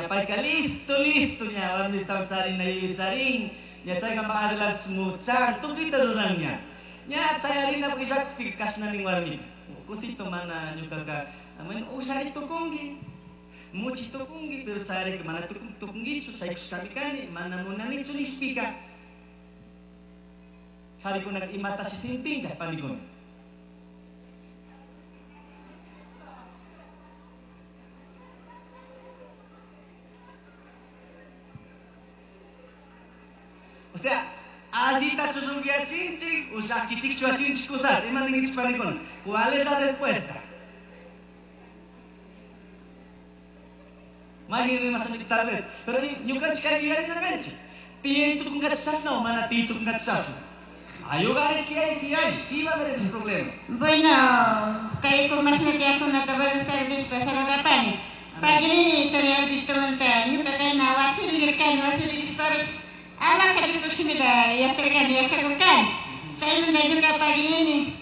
Ña payka listo, listo, ña warmista charina charin, ña chayka adelante muchan, tukuyta ruran ña. Ña chayarina pishakpi kashna nin warmika. Kusito mana ñukaka, bueno, ushari tukunki. Muchi tukunki, pero chayarika mana tukunkichu, shaykushkami kani, mana munanichu nishpika. Qharikunaka imatashi sintinka, panikuna. O sea, allita chushunguiachinchik, o llakichikchuachinchik kusat, ima ninkichik panikuna. ¿Cuál es la respuesta? Mayqin rimashanchik tal vez, pero ñukanchik kay yuyarinakanchik. Tiyay tukunkachu chashna o mana tiyay tukunkachu chashna. Hay hogares que hay, sí hay, sí va a haber ese problema. Bueno, kay kumashnatiyakunata buenas tardes saludarpani. Paginini Victormanta ñuka kayna wasirikani wasirishpapish alhaja Diospaj shimita yacharkani yachakurkani. Chaymanta ñuka paginini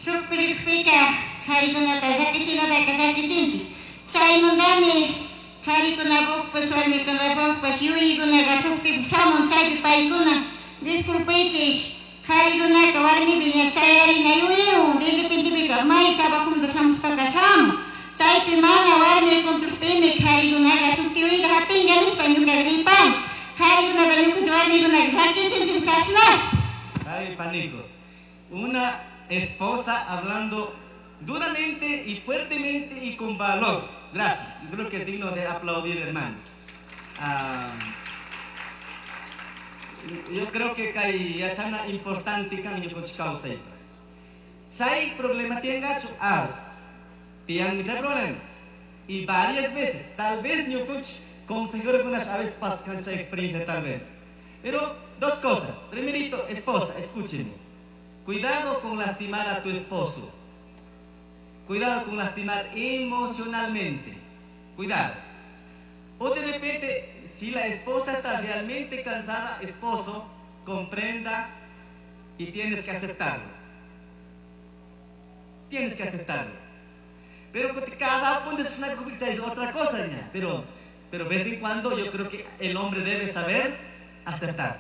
shuk pirikpika karikunata llakichinataka llakichinchik. Chaymantami karikunapukpash warmikunapukpash yuyaykunaka shukpi shamun chaypi paykuna disculpaychik karikunaka warmipi ña chayarina yuyaywan de repentepika may trabajomanta shamushpaka shamun. Chaypi mana warmi cumplirpimi karikunaka shuk yuyayta hapinka nishpa ñuka ripani. Karikunata ñukanchik warmikunaka llakichinchik chashnash. Ay, panico. Una esposa hablando duramente y fuertemente y con valor. Gracias. Yo creo que es digno de aplaudir, hermanos. Yo creo que kay yachana importante kan ñukanchik kawsaypa. Chay problema tiyangachu? Ah, tiyanmi chay problema. Y varias veces, tal vez ñukanchik consejerokunash a veces paskan chay experiencia tal vez. Pero dos cosas. Primerito, esposa, escúcheme. Cuidado con lastimar a tu esposo. Cuidado con lastimar emocionalmente. Cuidado. O de repente, si la esposa está realmente cansada, esposo, comprenda y tienes que aceptarlo. Tienes que aceptarlo. Pero cada uno es una es otra cosa, niña. Pero de vez en cuando yo creo que el hombre debe saber aceptar.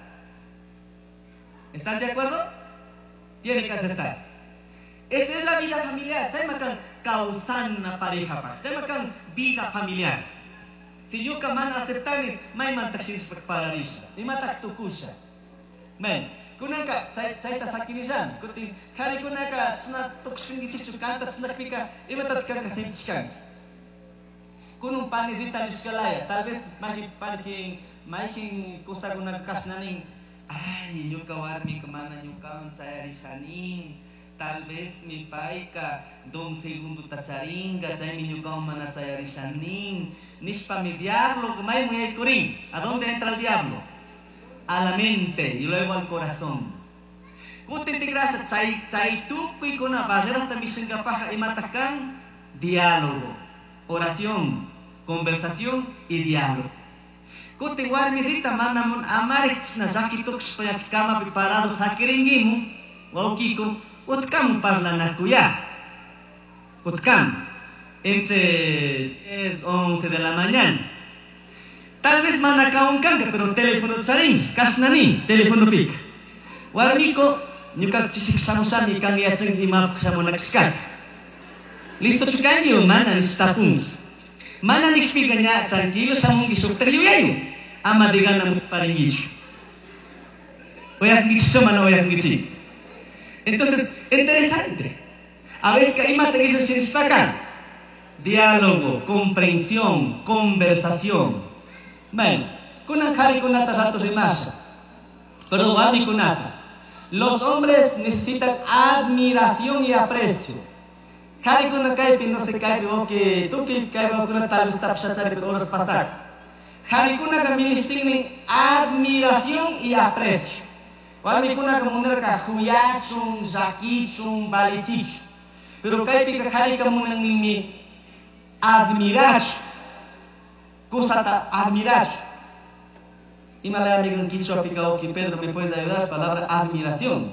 ¿Están de acuerdo? Tiene que aceptar. Esa es la vida familiar. Chaymakan kawsana pareja pa. Chaymakan vida familiar. Si ñuka mana aceptani, maymantaq shirishpa pararisha. Imataq tukusha. Men, kunanka chayta sakinishani. Kutin qharikunaka chashna tukushkankichikchu kanta chashnakpika imatataq kanka sintishkanki. Kunun panisita nishkalaya, tal vez mayqin mayqin mayqin kusakunaka kashnanin, ay ñuka warmika mana ñukawan chayarishanin. Tal vez mi payka don segundo charinga, chaymi ñukawan mana chayarishanin. Nishpa mi diablo, maymun yaykurin. ¿A dónde entra el diablo? A la mente y luego al corazón. Kutin tigrasha chay chay tukuykuna barrerasta mishinkapaja imataq kan diálogo, oración, conversación y diálogo. Kutin warmisita mana mun amarik chashna llaki tukushpa kamapi parado sakirinkimun, wawkiko, utkamun parlanakuya. Utkam. Entre 10, 11 de la mañana. Tal vez mana kanka, pero teléfono charin, kashnani, teléfono pica. Warmiko, ñuka chishik shamushami kan yachan imapaq shamunakashkaka. Listo chukanki o mana nishtapunki. Mana nikpika ña tranquilo shamunki shuktak yuyayu. Ama de gana parinkichu. Oyakunkichu mana oyakunkichik. Entonces, interesante. A veces que imata shinishpaka. Diálogo, comprensión, conversación. Bueno, kunan qharikunata rato rimasha. Pero warmikunata. Los hombres necesitan admiración y aprecio. Qharikuna kaypi no se kaypi que tukuy kaypi tal vez tapshachari pero horas pasar. Qharikunaka ministinmi admiración y aprecio. Warmikunaka munarka huyachun, llakichun, valichichun. Pero kaypika qharika munanninmi admirachu. Kusata admirachu. Imalayami quichua Pedro, ¿me puedes ayudar? Palabra admiración.